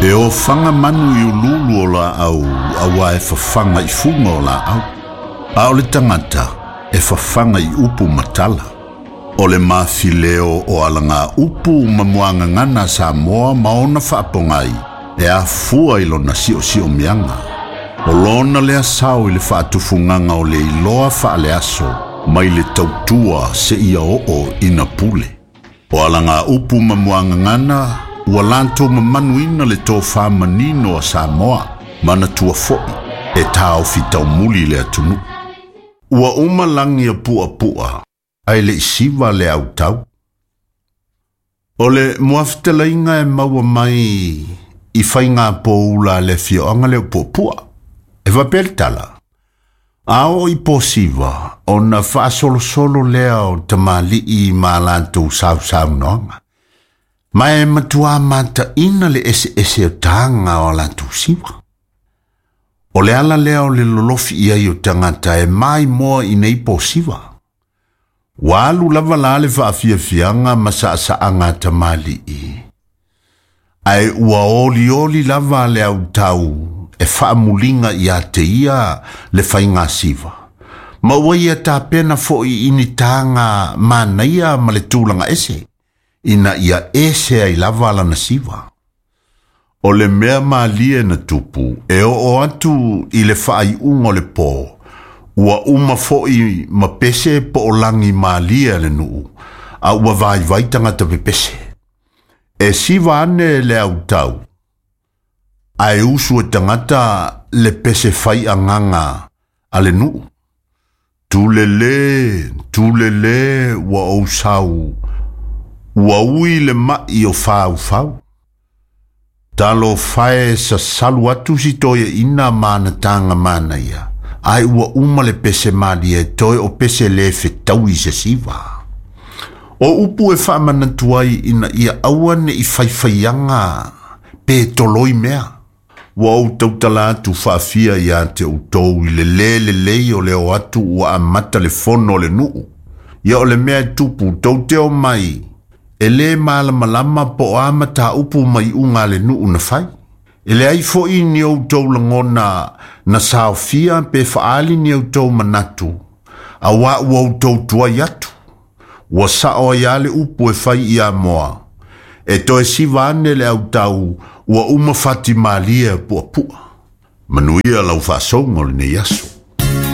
E ofaga manu i uluulu o laau auā e fafaga i fuga o laau, a o le tagata e fafaga i upu ma tala. O le mafileo o alagaupu ma muagagana a Samoa ma ona faapogai e afua i lona siosiomiaga. O lona lea sao i le faatufugaga o le iloa faaleaso mai le tautua seia oo ina pule. O alagaupu ma muagagana ua latou mamanuina le tofa manino a Samoa, manatua foi e taofi taumuli le atunuu. Ua uma lagi a puapua, ae le i siva le autau. O le muafetalaiga e maua mai i faiga poula a le afioaga lea o Puapua. E faapea le tala, A oo i po siva, ona faasolosolo lea o tamalii ma a latou sausaunoaga. Ma e matuā mataina le eseese o taga o a latou siva. O le ala lea o le lolofi i ai o tagata e maimoa i nei po siva. Ua alu lava la le faafiafiaga ma saasaaga a tamalii, ae ua olioli lava le autau e faamuliga ia te ia le faiga siva, ma ua ia tapena foi i ni taga manaia ma le tulaga ese, ina ia ese ai lava lana siva. O le mea malie na tupu e oo atu i le faaiuga o le po, ua uma foi ma pese po o lagi malie a le nuu, a ua vaivai tagata pepese. E siva ane le autau, ae usu e tagata le pese fai agaga a le nuu. Tulele, tulele ua ou sau, ua ui le mai o faufau. Talofa e sasalu atu si toeaina ma ana taga manaia, ae ua uma le pese malie toe o pese le fetaui se siva. O upu e faamanatu ai ina ia aua ne i faifaiaga pe toloi mea. Ua ou tautala atu faafia ia te outou i le lē lelei o le o atu ua amata le fono a le nuu. Ia o le mea e tupu tou te omai e lē malamalama po o a mataupu ma iuga a le nuu na fai. E leai foi ni outou lagona na saofia pe faaali ni outou manatu, auā ua outou tuai atu. Ua sao ai lava le upu e fai i Amoa, E toe siva ane le autau ua uma fati malie a puapua. Manuia lau faasouga o lenei aso.